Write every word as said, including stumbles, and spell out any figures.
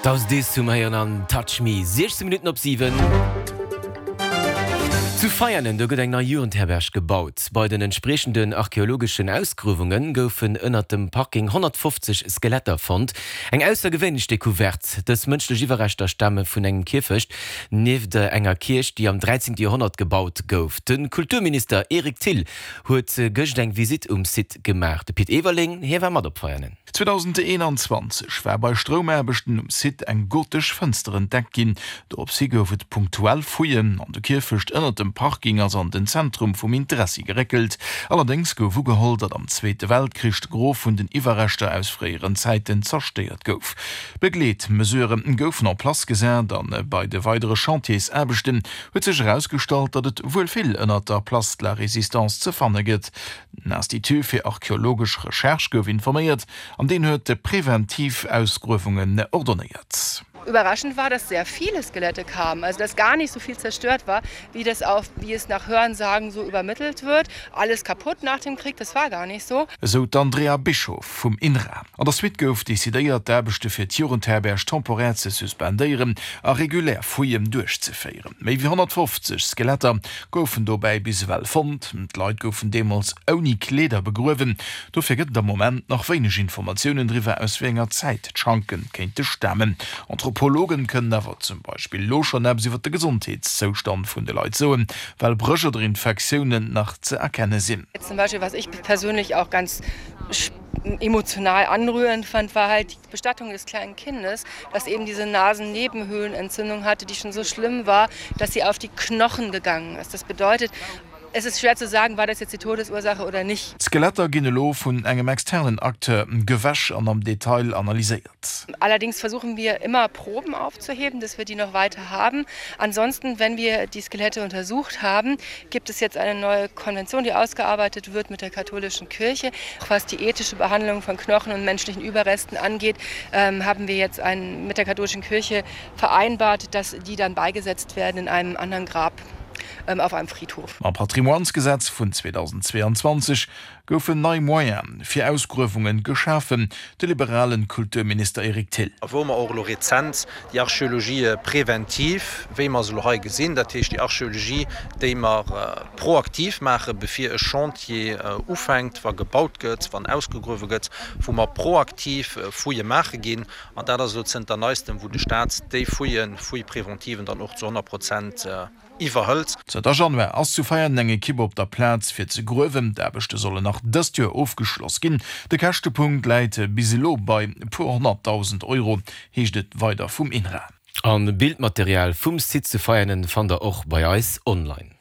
Daus Dis zum héieren an Touch Me, siechzéng Minutten op siwen. Zu Veianen, do gëtt eng nei Jugendherberg gebaut. Bei den entspriechenden archeologeschen Ausgruewunge goufen ënnert dem Parking honnertfofzeg Skeletter fonnt. Eng aussergewéinlech Decouverte. Dës mënschlech Iwwerreschter stame vun engem Kierfecht nieft enger Kierch, déi am dräizéngte Joerhonnert gebaut gouf. De Kulturminister Eric Thill huet gëscht eng Visitt um Site gemaach. De Pit Everling, hie war mat op Veianen. zweedausendeenanzwanzeg war bei Stroumaarbechten um Site eng gotesch Fënster entdeckt ginn. Doropshi gouf et punktuell Fouillen an de Kierfecht ënnert dem Parking ass an den Zentrum vum Interessi geréckelt. Allerdéngs gouf ugeholl, datt am Zweete Weltkrich de Gros vun den Iwwerreschter aus fréieren Zäiten zerstéiert gouf. Begleetmesurë goufen en place gesat a bei de weidere Chantiersaarbechten huet sech erausgestallt, datt et wuel vill ënnert der Place de la Résistance ze fanne gëtt. Den Institut fir archeologesch Recherche gouf informéiert an deen huet preventiv Ausgruewungen ordonnéiert. Überraschend war, dass sehr viele Skelette kamen, also dass gar nicht so viel zerstört war, wie das auf, wie es nach Hörensagen so übermittelt wird. Alles kaputt nach dem Krieg, das war gar nicht so. Esou d'Andrea Bischoff vum INRA. An der Suite gouf decidéiert, d'Aarbechte fir d'Jugendherberg temporär ze suspendéieren a regulär Fouillen duerchzeféieren. Méi wéi honnertfofzeg Skeletter goufen dobäi bis ewell fonnt. D'Leit goufen deemools ouni Kleeder begruewen. Dofir gëtt et am Moment nach wéineg Informatiounen driwwer, aus wéi enger Zäit d'Schanke kéinte stamen. Anthropologen kënnen awer zum Beispill elo schonn eppes iwwer de Gesondheetszoustand vun de Leit soen, well Bréch oder Infektiounen nach ze erkenne sinn. Zum Beispill was ich persönlich auch ganz emotional anrührend fand, war halt die Bestattung des kleinen Kindes, das eben diese Nasennebenhöhlenentzündung hatte, die schon so schlimm war, dass sie auf die Knochen gegangen ist. Das bedeutet, es ist schwer zu sagen, war das jetzt die Todesursache oder nicht. D'Skeletter ginn elo vun engem externen Acteur gewäsch an am Detail analyséiert. Allerdings versuchen wir immer Proben aufzuheben, dass wir die noch weiter haben. Ansonsten, wenn wir die Skelette untersucht haben, gibt es jetzt eine neue Konvention, die ausgearbeitet wird mit der katholischen Kirche. Was die ethische Behandlung von Knochen und menschlichen Überresten angeht, ähm, haben wir jetzt ein, mit der katholischen Kirche vereinbart, dass die dann beigesetzt werden in einem anderen Grab auf einem Friedhof. Mam Patrimoinesgesetz vun zweedausendzweeanzwanzeg goufen nei Moyene fir Ausgruewunge geschafen, de liberalen Kulturminister Eric Thill. A wou mer och elo rezent déi Archéologie préventive, wéi mer se elo hei gesinn, dat heescht déi Archéologie, déi mer proaktiv maachen, bevir e Chantier ufänkt, wa gebaut gëtt, wann ausgegruewe gëtt, wou mer proaktiv Fouillë maache ginn. An dat ass elo zënter Neistem, wou de Stat déi Fouillen, Fouilles préventives, dann och zu honnert Prozent iwwerhëlt. Zënter Januar ass zu Veianen eng Ekipp op der Plaz fir ze gruewen. D'Aarbechte sollen nach dëst Joer ofgeschloss ginn. De Käschtepunkt läit bis elo bei e puer honnertdausend Euro, heescht et weider vum INRA. An Bildmaterial vum Site zu Veianen fannt der och bei eis online.